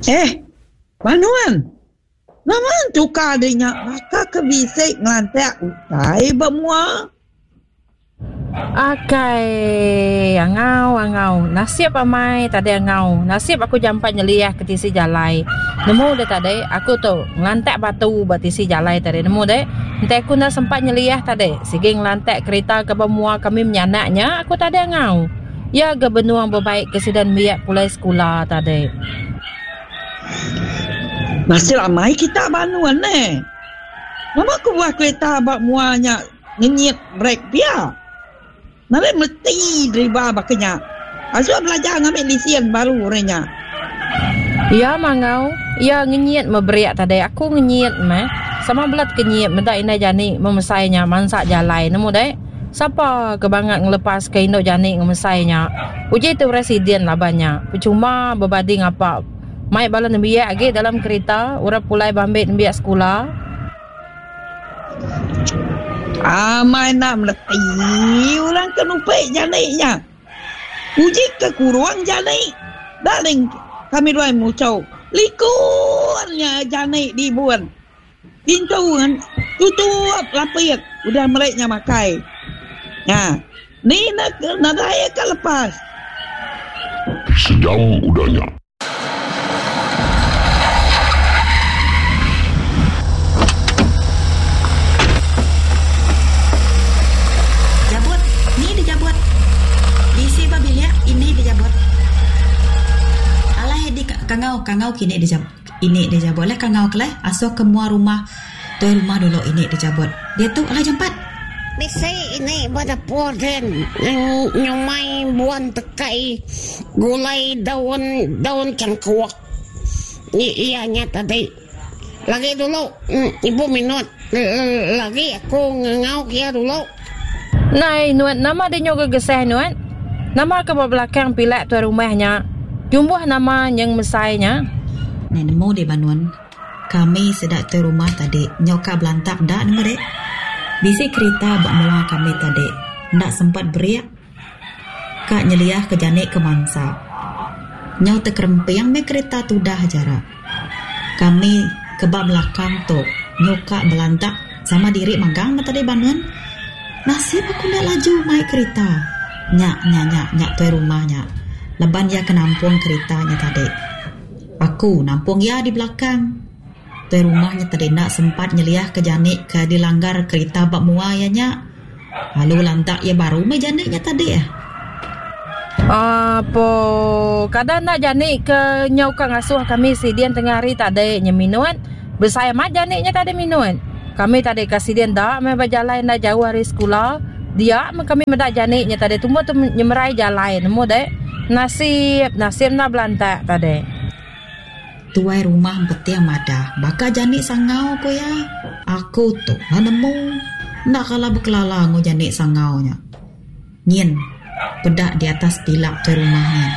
Eh, ba nuan. Nama entuka deh nya baka ke bisi ngelantak utai ba mua. Akai, angau angau. Nasib amai tadi angau. Nasib aku jampat nyeliah ke tisi jalai. Nemu deh tadi, aku tu ngelantak batu ba tisi jalai tadi. Nemu deh, enti aku enda sempat nyeliah tadi, sigi ngelantak kerita ke ba mua kami menyanak nya aku tadi angau. Iya ga benung bebaik ke sida nembiak pulai sekula tadi. Nasib amai kita ba anun neh. Nama kebuah kereta ba mua nya ngenyit brek pia? Nadai meti deriba baka nya. Asuh belajar ngambi lisin baru orang nya. Iya mangau, iya ngenyit meh brek tadi. Aku ngenyit meh. Sama bela tekenyit meda indai jani memesai nya mansa jalai nemu deh. Sapa ke bangat ngelepas ke indu jani ngemesai nya. Uji tu residen laban nya. Pechuma bebadi ngapa. Mai bala nembiak agi dalam kerita orang pulai bambi nembiak sekula. Amai enda meleti orang ke nupi jani nya. Uji ke kurung jani. Darling kami duai muchau likun nya jani dibun. Pintu tutup lapik udah meri nya makai. Nya. Ni ne nadai ka lepas. Sejam udah nya. Jabut, ni dijabut. Bisi ba bilik ini dijabut. Alai di kangau kangau kini dijabut. Ini deh jabut leh kangau ke leh asuh ke mua rumah tuai rumah dulu ini deh jabut. Diatu alai jampat. Bisi ini ba dapur din nyumai buan tekai gulai daun daun cangkuk iya nya tadi. Lagi dulu ibu minut lagi aku ngangau ke iya dulu. Nai nuan nama deh nyu gegesah nuan. Nama ke ba belakang pilak tuai rumah nya. Nyumbuh nama nyeng mesai nya. Nai nemu deh banun. Kami sida tuai rumah tadi nyau ka belantak da nemu deh. Bisi kerita ba mua kami tadi enda sempat berik ka nyeliah ke jani ke mansa. Nyau tekeremping meh kerita tudah jara. Kami ke ba belakang tu nyau ka belantak sama diri magang meh tadi banun. Nasib aku enda laju mai kerita. Nya nya nya nya tuai rumah nya laban iya ke nampung kerita nya tadi. Aku nampung iya di belakang. Tuai rumah nya tadi enda sempat nyeliahka jani ke dilanggar kerita ba mua iya nya. Lalu lantak iya baru meh jani nya tadi. Apo kada enda jani ke nyau ka ngasuh kami sidin tengah hari tadi nya minut. Besai amat jani nya tadi minut. Kami tadi ka sidin enda meh ba jalai enda jauh ari sekula. Dia meh kami meda jani nya tadi tumbuh tu nyemerai jalai nemu deh. Nasib nasib enda belantak tadi. Tuai rumah empeting madah baka jani sangau ku iya. Aku tu enda nemu. Enda kala bekelala enggau jani sangau nya. Nyin, peda di atas pilak tuai rumah nyin.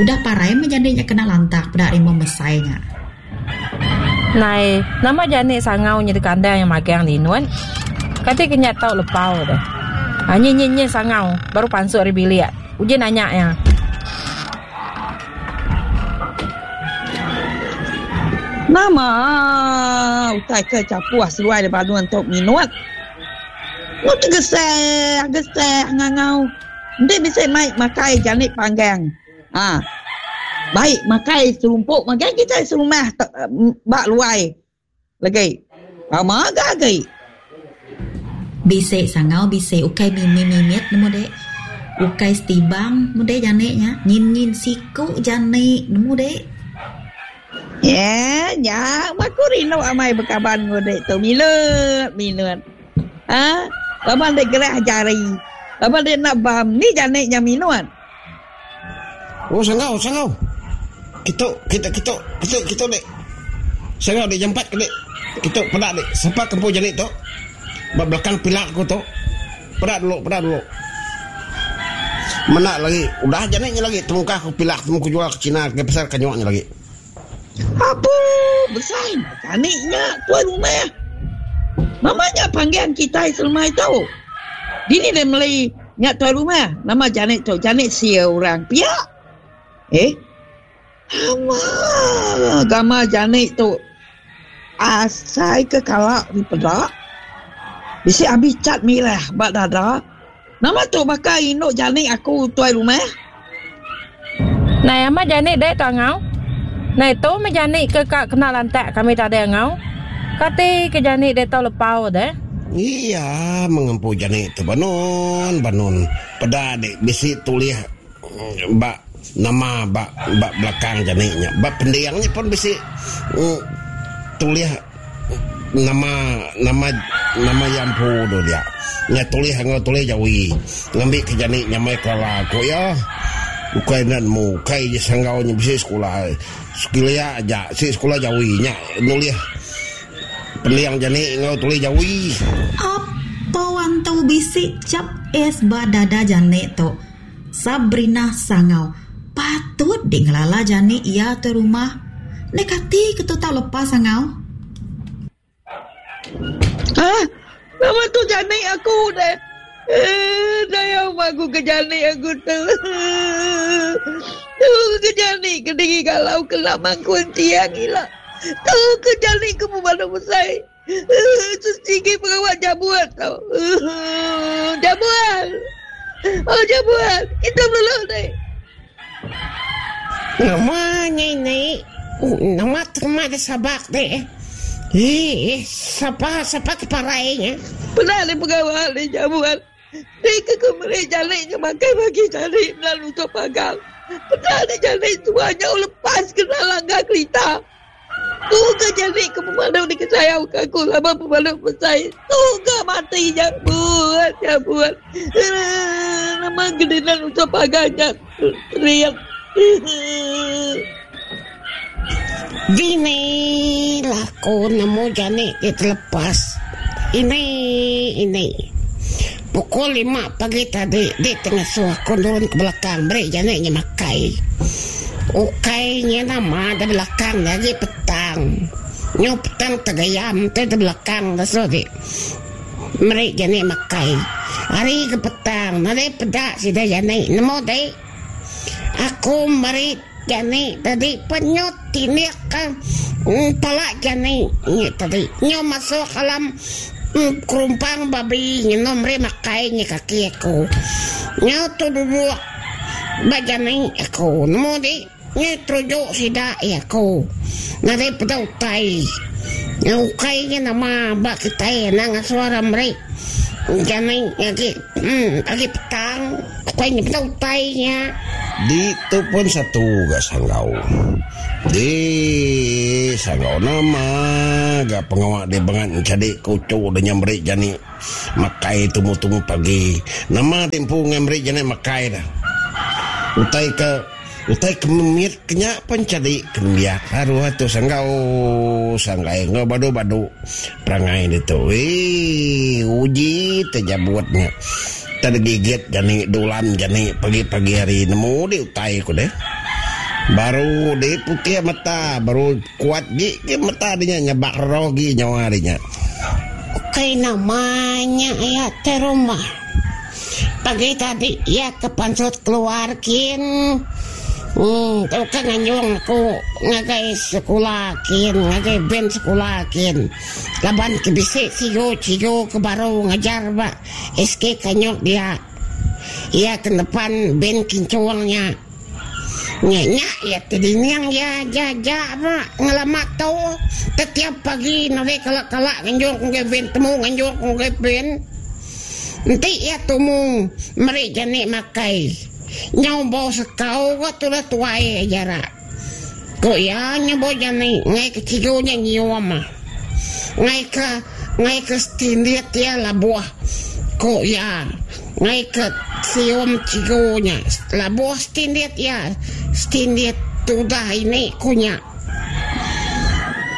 Udah parai meh jani nya kena lantak peda rimong mesai nya. Nai, nama jani sangau nya dikandang iya magang dinut. Kati ke nya tau lepau deh. Ha nyin nyin nyin sangau baru pansut ari bilik. Uji nanya iya. Nama utai ke chapuh seduai da banun tu minut. Mu tegeseh geseh ngangau enti bisi mai makai jani panggang ha bai makai serumpuk magang kitai serumah ba luai legi pama ga agi. Bisi sangau bisi ukai mimit mimit nemu dek ukai setibang nemu dek jani nya nyin nyin siku jani nemu dek. Nya nya aku rindu amai bekaban enggau dek tu minut minut. Ha laban dek gerah jari. Laban dek enda bam ni jani nya minut. Oh sangau sangau. Kitu kitu kitu kitu kitu dek. Sangau dek jampat ke dek. Kitu peda dek sapa ke empu jani tu. Ba belakang pila aku tu. Peda dulu peda dulu. Menda lagi udah jani nya lagi temungkah ku pilah temu ku jual ke China ke pasar kanyuk nya lagi. Apu besai jani nya tuai rumah. Nama nya panggang kitai selemai tu. Dini deh meli nya tuai rumah nama jani tu jani sia orang pia. Eh. Nama gamal janik tu asai ke kala dipeda. Bisi abi cat mirah ba dada. Nama tu baka indu janik aku tuai rumah. Nai amat janik dek tu angau. Nai tu meh janik ke ka kena lantak kami tadi angau. Kati ke janik dek tau lepau deh. Iya mengempu janik tu banun banun peda dek bisi tulih ba nama ba ba belakang janik nya. Ba pending nya pun bisi tulih nama nama nama iya empu tu dia. Nya tulih enggau tulih jawi ngambi ke janik nyamai kelala ku iya. Ukai enda nemu ukai je sanggau nya bisi sekula sekilia aja si sekula jawi nya nulih pending janik enggau tulih jawi. Apo antu bisi chap S ba dada janik tu. Sabrina Sangau patut di ngelala jani iya tuai rumah. Enda kati ke tu tau lepas Sangau. Hah? Nama tu jani aku deh. Eh, sayau aku ke jani aku tu. Tu ke jani ke diri galau kena mangkun tiang ila. Tu ke jani ke pemadu besai. Sigi pengawa jabuan tau. Jabuan. Oh jabuan. Kita beluluk ni. Nama nya ini? Nama terma da sabak deh. Eh, sapa sapa ke parai nya? Pernah ni pengawa ni jabuan. Ti ke ku meri jali nya makai bagi jali melalu tu pagang. Pernah ni jali tua nyau lepas kena langgar kerita. Tu ke jali ke pemalu dikesayau ke aku laban pemalu besai. Tu ke mati nya buat nya buat. Nama gedinan usah pagang nya teriak. Dini lah aku nemu jani ti telepas. Ini ini. Pukul lima pagi tadi di ti ngasuh aku nurun ke belakang meri jani nya makai. Ukai nya nama da belakang nya agi petang. Nyu petang tegayam ti da belakang ngasuh ti meri jani makai. Hari ke petang nadai peda sida jani nemu ti. Aku meri jani tadi penyut tindik ka pala jani nya tadi. Nyu masuk alam kerumpang babi ngenu meri makai nya kaki aku. Nyu tu duduk ba jani aku nemu di nyu teruju sida iya aku. Nadai peda utai. Nyu ukai nya nama ba kitai anang ngasuh orang meri jani agi agi petang. Ukai nya peda utai nya. Di tu pun satu ga sanggau. Di sanggau nama ga pengawa di bengat enchadi ke uchu da nya meri jani makai tumu-tumu pagi. Nama di empu ngai meri jani makai da. Utai ke utai ke memit ke nya pun enchadi ke nembiak aruh tu sanggau sanggai enggau badu-badu perangai ditu. Eii uji tejabut nya. Tang digigit jani dulan jani pagi-pagi hari nemu di utai ku deh. Baru di putih mata baru kuat gi ke mata di nya nyabak roh gi nyawa di nya. Ukai nama nya iya te rumah. Pagi tadi iya ke pansut keluar kin. Em tauka nganjung aku ngagai sekula kin ngagai band sekula kin laban ke bisi sigu cigu ke baru ngajar ba SK Kanyuk dia. Iya ke nepan band Kincung nya. Nya nya iya ti dining iya aja aja ba ngelama tu. Tetiap pagi nadai kala-kala nganjung ku ngagai band temu nganjung ku ngagai band. Enti iya tumu meri jani makai. Nyau bau sekau ga tudah tuai aja ra. Ku iya nyebut jani ngai ke cigu nya nyium. Ngai ke ngai ke stindit iya labuh ku iya ngai ke sium cigu nya labuh stindit iya stindit tudah ini ku nya.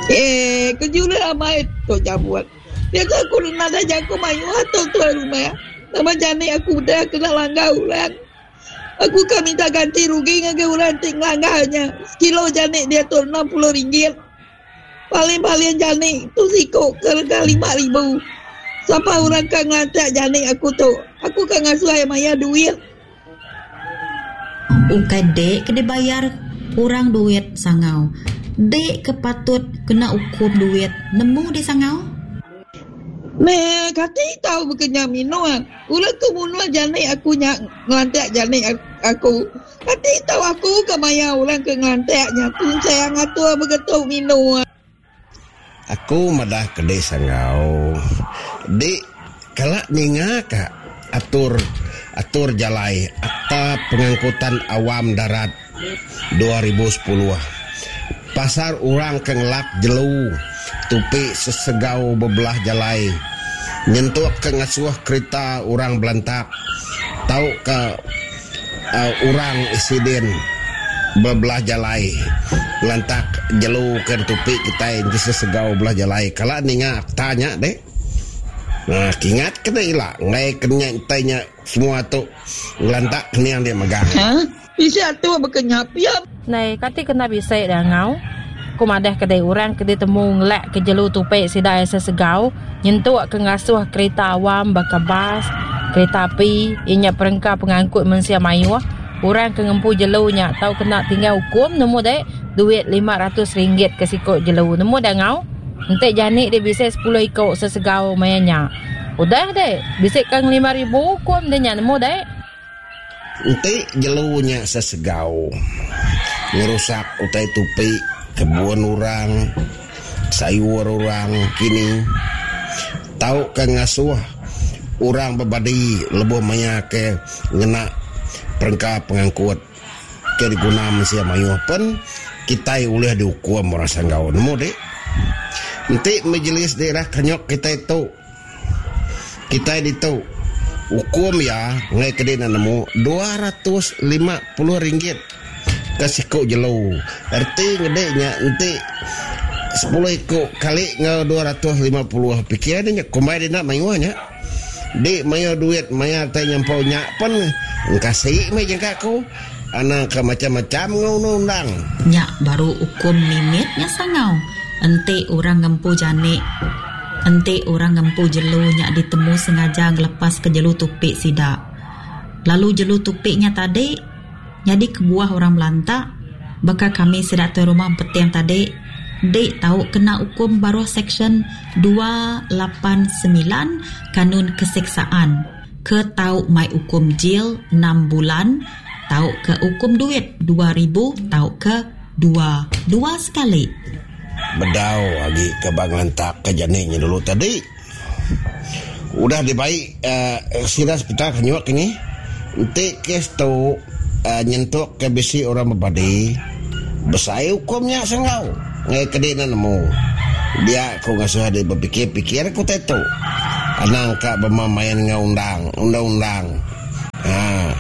Eh kejulih amai tu jabut. Diatu aku nadai jaku mayuh atur tuai rumah. Nama jani aku udah kena langgar orang. Aku ka minta ganti rugi ngagai orang ti ngelanggar nya. Sekilo jani diatu 60 ringgit. Paling-paling jani tu siku ke rega 5000. Sapa orang ka ngelantak jani aku tu? Aku ka ngasuh iya mayar duit. Ukai dek ke dibayar. Orang duit sangau. Dek ke patut kena ukum duit nemu deh sangau. Meh kati tau bekenya minun. Ulih ke munuh janik aku nya ngelantik janik aku. Kati tau aku ke maya orang ke ngelantik nya tunsang atur begetu minun. Aku madah ke dek sanggau. Dek kala ninga ka atur atur jalai Akta Pengangkutan Awam Darat 2010 pasal orang ke ngelak jelu tupi sesegau bebelah jalai nyentuk ke ngasuh kerita orang belantak tauka Orang siden bebelah jalai ngelantak jelu ke ditupi kitai enti sesegau belah jalai kala ninga akta nya deh. Nah kingat ke deh ila enggai ke nya utai nya semua tu ngelantak kening dia megang. Ha bisi atur baka nya pia. Nai kati kena bisi deh ngau. Ku madah ke deh orang ke ditemu ngelak ke jelu tupi sida iya sesegau nyentuk ke ngasuh kerita awam baka bas, kerita api, iya nya perengka pengangkut mensia mayuh, orang ke ngempu jelu nya tau kena tinggal ukum nemu deh duit 500 ringgit ke siku jelu nemu deh ngau. Enti jani deh bisi 10 iku sesegau maya nya. Udah deh bisi kang 5000 ukum deh nya nemu deh. Enti jelu nya sesegau ngerusak utai tupi kebun orang, sayur orang kini tauka ngasuh orang bebadi lebuh maya ke ngena perengka pengangkut ke diguna mensia mayuh pen kitai ulih diukum orang sanggau nemu dik. Enti Majlis Daerah Kenyok kitai tu Kitai ditu, ukum iya enggai ke dina nemu 250 ringgit ke siku jelu. Reti ngedi nya enti 10 iku kali enggau 250 pikir ne nya kumbai dina mayuh nya. Di mayuh duit mayar tai nyampau nya pen engkasi meh jangka aku. Anang ke macam-macam enggau undang-undang. Nya baru ukum mimit nya sangau enti orang ngempu janik. Enti orang ngempu jelu nya ditemu sengaja ngelepaska jelu tupi sida, lalu jelu tupi nya tadi nyadi kebuah orang belantak, baka kami sida tuai rumah empeting tadi, dik tau kena ukum baruh Seksyen 289 Kanun Keseksaan ke tau mai ukum jil enam bulan tauka ukum duit 2000 tauka dua dua sekali. Bedau agi ke ba ngelantak ke jani nya dulu tadi. Udah dibai sida sepital ke nyuak kini. Enti kes tu nyentuk ke bisi orang bebadi, besai ukum nya senggau ngagai ke dina nemu. Dia ku ngasuh adi bepikir-pikir ke utai tu. Anang ka bemain enggau undang undang-undang. Haa.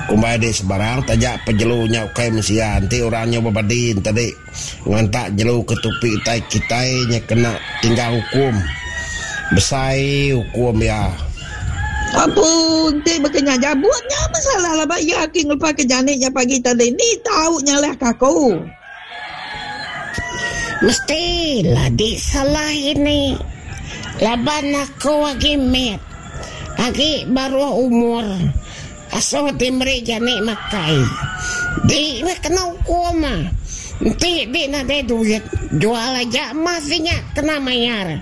Kumbai adi sebarang taja pejelu nya ukai mensia enti orang nya bebadi enti. Ngantak jelu ke tupi utai kitai nya kena tinggal ukum. Besai ukum iya. Apu enti baka nya jabut nya meh salah laban iya agi ngelepas ke janik nya pagi tadi ni tau nyalah ke aku. Mesti la di salah ini laban aku agi mit agi baruh umur. Asuh ti meri jani makai. Di meh kena ukum. Enti di nadai duit, jual aja emas di nya kena mayar.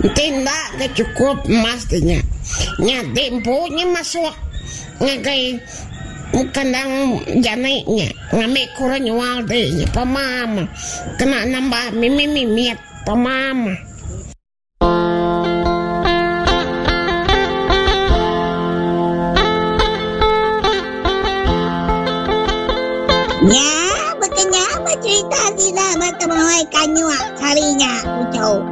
Enti enda ga chukup emas di nya, nya di empu nya masuk ngagai kandang jani nya ngambi ke orang nyual di nya pama kena nambah mimit-mimit pama. Nya baka nya ba cerita sida ba temuai kanyuk sehari nya uchu.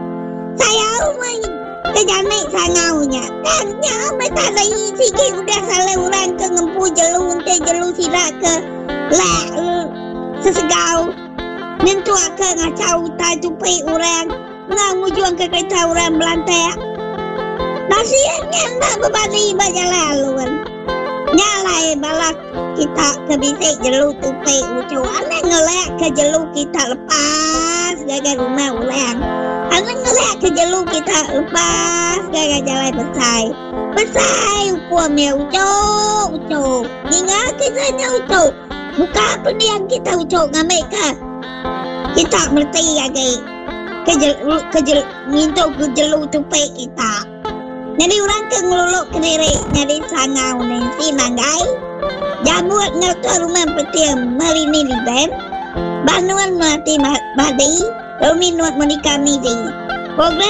Sayau meh ke janik sangau nya. Tang nya meh tadi sigi udah salah orang ke ngempu jelu enti jelu sida ke lak sesegau nyentuk ke ngachau utai tupi orang. Enggau ngujungka kerita orang belantak. Nasib nya enda bebadi ba jalai alun. Nya alai bala kita ke bisi jelu tupi uchu anang ngelakka jelu kita lepas ngagai rumah orang. Anang ngelakka jelu kita lepas ngagai jalai besai. Besai ukum iya uchu uchu. Ninga kisah nya uchu. Buka pending kita uchu ngambika kita mereti agi ke ke ngintu ke jelu tupi kita. Nyadi orang ke ngelulu kediri nyadi sangau Nancy Manggai, Jambut enggau Tuai Rumah Peting Melini Libem, Banun Melati Badi, Rumi Nuat Monica Midi. Program.